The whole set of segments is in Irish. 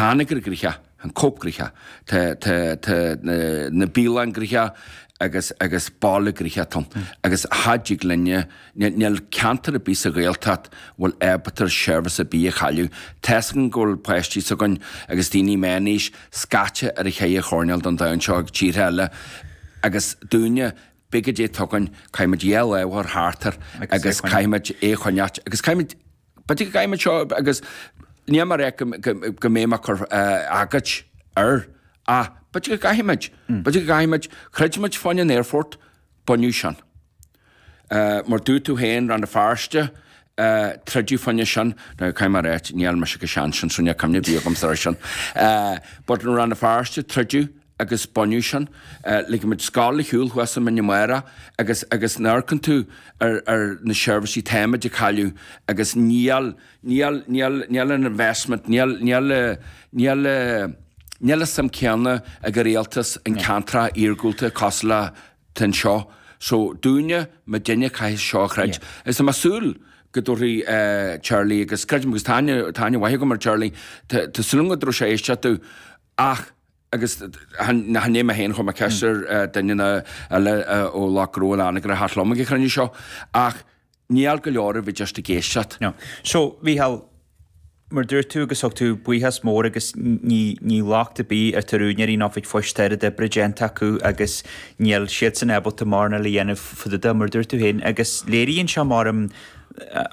Anagaire gnoitheach, an Cope gnoitheach, tá, tá, tá na, na bialann gnoitheach agus, agus baile gnoitheach ann. Agus cha dtig linne, níl, níl ceantar ar bith sa Ghaeltacht a bhfuil ábalta seirbhís ar bith a chailleadh. Tá's againn go bhfuil páistí s'againn agus daoine meánaois scaite ar a cheithre choirnéal den domhan seo ag tíortha eile agus dúinne, pé goidé atá againn, caithfimid a lámh a chur thart air agus caithfimid é a choinneáilt agus caithfimid, b'fhéidir go gcaithfimid seo agus níl mé ag rá go mbeidh mé ag cur agóid air ach b'fhéidir go gcaithfimid, b'fhéidir go gcaithfimid, chreid muid fá choinne an aerfort, baineadh sin. Mar dúirt tú féin, Rann na Feirste, troideadh fá choinne sin, now caithfidh mé a ráit, níl mise chomh sean sin so níl cuimhne ar bith agamsa air sin. But in Rann na Feirste, troideadh agus baineadh sin. Ligfidh muid scoil ar shiúl thuas i mBinn Mara agus agus nuair a amharcann tú ar ar na seirbhísí táimid ag cailleadh agus níl níl níl níl an investment níl níl níl níl an suim céanna ag an rialtas in ceantracha iargúlta cosúil le tá anseo. So dúinne, muidinne caithfidh seo a throid. Is tá mé ag súil go dtabharfaidh Charlie agus creidim agus tá aithne tá aithne mhaith agam ar Charlie tá tá súil agam go dtabharfaidh sé éisteacht domh ach agus chan é mé féin chuir mé ceist ar duine eile ó lucht gnó in Anagaire a theacht liom ag an chruinniú seo ach níl go leor a bhí just ag éisteacht. No. So, Mhícheál, mar dúirt tú agus thug tú buíochas mór agus ní ní locht ar bith ar tar úinéirí an oifig phoist tá oiread oibre déanta acu agus níl siadsan ábalta mórán eile a dhéanamh fá dtaobh de mar dúirt tú féin agus léiríonn sé mar an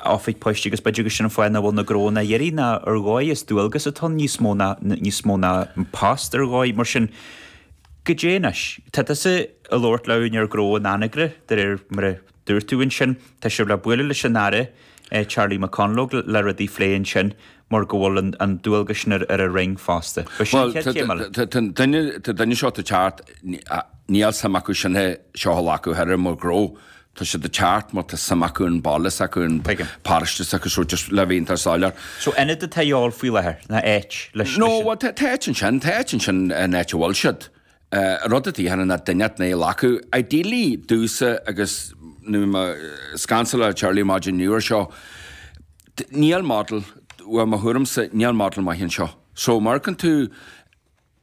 oifig poist agus b'fhéidir gur sin an fáth nach bhfuil na gnóanna ag éirí ná ar dhóigh is dualgas atá ann níos mó ná níos mó ná post ar dhóigh mar sin goidé anois tá tusa ag labhairt le úinéir gnó in Anagaire de réir mar a dúirt tú ansin tá sibh le bualadh leis an Aire Charlie McConalogue le rudaí a phlé ansin mar go bhfuil an dualgas sin ar an Roinn fosta. B'shin an chéad chéim eile. Tá an duine seo ag teacht, níl suim acu sin é seo a ghlacadh thoir mar ghnó. Tá siad ag teacht mar tá suim acu an baile s'acu, an paróiste s'acu, so just le bheith iontach soiléir. So ionad atá a dhíobháil faoi láthair, ná áit leis. No, bhuel tá áit ansin, tá áit ansin an áit a bhfuil siad. Rud atá cheana ná duine a ghlacadh. Ideally domhsa agus nuair mé ag caint le Charlie maidin inniu air seo, níl model, bhuel mo thuairimse, níl model maith anseo. So má amharcann tú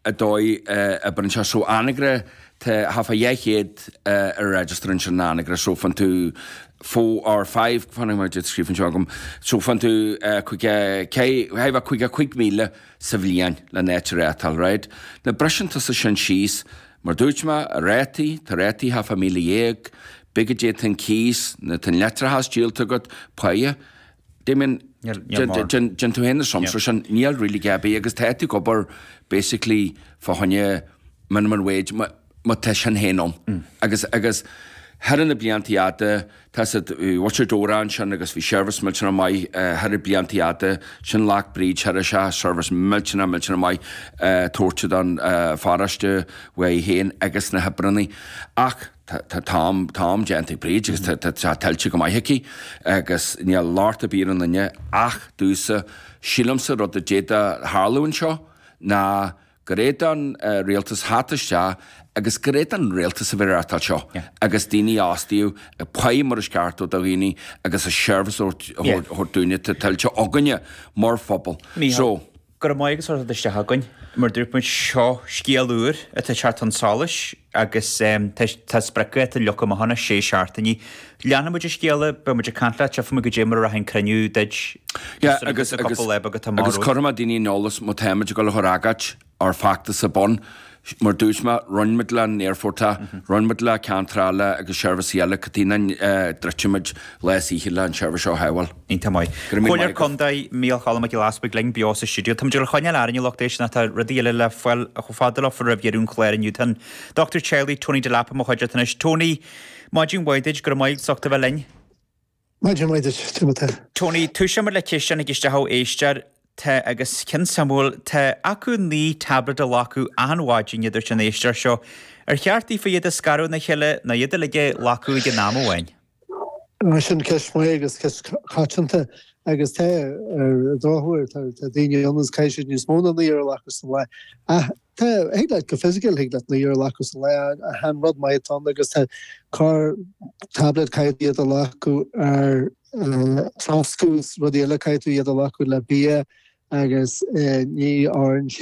an dóigh a oibríonn sé, so Anagaire, tá half a 200 ar register ansin in Anagaire, so faigheann tú four or five, fan go dtí scríofa anseo agam, so faigheann tú 55,000 sa bhliain le n-áit a reáchtáil, right? Now briseann tusa sin síos, mar dúirt mé, rátaí, tá rátaí thart fá 1,000, pé goidé tá an cíos, nó tá an leictreachas díolta agat, páighe. Damien, déan tú féin na sums sin, níl really gá ar bith agus tá tú ag obair basically fá choinne minimum wage, má tá sin féin ann. Agus, agus thar na blianta fhada, tá siad, bhí Butcher Dora ansin agus bhí seirbhís millteanach maith thar na blianta fhada, sin ghlac Bríd Sheirbhíseach, seirbhís millteanach, millteanach maith tabhairt don pharóiste uaithi féin agus na hoibreanna. Ach tá, tá, tá am, tá am déanta ag Bríd agus tá, tá, tá tuillte go maith aici agus níl locht ar bith ar an duine ach domhsa, sílimse rud a d'fhéadfadh tharlú anseo ná gur é don rialtas theacht isteach agus gur é don rialtas a bheith ag reáchtáil seo agus daoine a fhostaíodh ag páighe mar is ceart do dhaoine agus a seirbhís a thabhairt dúinne atá tuillte againne mar phobal. So. Go raibh maith agat as ucht a theacht isteach againn. Mar dúirt muid, seo scéal úr atá ag teacht chun solais agus tá spriocdháta leagtha amach ann, sé seachtainí. Leanfaidh muid an scéala, beidh muid ag caint leat, tchífidh muid goidé mar a rachaidh an cruinniú duit. Yeah, agus, agus, agus cuirfidh mé daoine in eolas má táimid ag dul a chur agóid ár feachtas ar bun. Mar dúirt mé, rinne muid le an aerfort é, rinne muid le ceantar eile agus seirbhísí eile, cad chuige nach dtroidfidh muid lá is oíche le an seirbhís seo a shábháil. Iontach maith. Comhairleoir Contae Mícheál Cholm Mac Giolla Easbuig linn beo sa stiúideo. Táimid ag coinneáil orainn a lucht éisteachta tá rudaí eile le fáil chomh fada leo roimh dheireadh an chláir inniu. Tá an Dochtúir Teaghlaigh Tony Delap i mo chuideachta anois. Tony, maidin mhaith duit, go raibh maith agat as ucht a bheith linn. Maidin mhaith duit, Timothée. Tony, toiseoidh muid le ceist a tháinig isteach ó éisteoir. Tá, agus ceann suimiúil, tá acu 9 tablet a ghlacadh achan mhaidin, a dúirt an éisteoir seo. Ar cheart daofa iad a scaradh óna chéile nó iad uilig a ghlacadh ag an am amháin? Sin ceist mhaith agus ceist choitianta agus tá, ar an drochuair, tá daoine ann agus caithfidh siad níos mó ná 9 a ghlacadh sa lá. Ach tá, thig leat go fisiciúil, thig leat 9 a ghlacadh sa lá ach an rud maith atá ann agus tá corr tablet caithfidh tú iad a ghlacadh ar troscadh is rudaí eile, caithfidh tú iad a ghlacadh le bia agus ní oireann sé.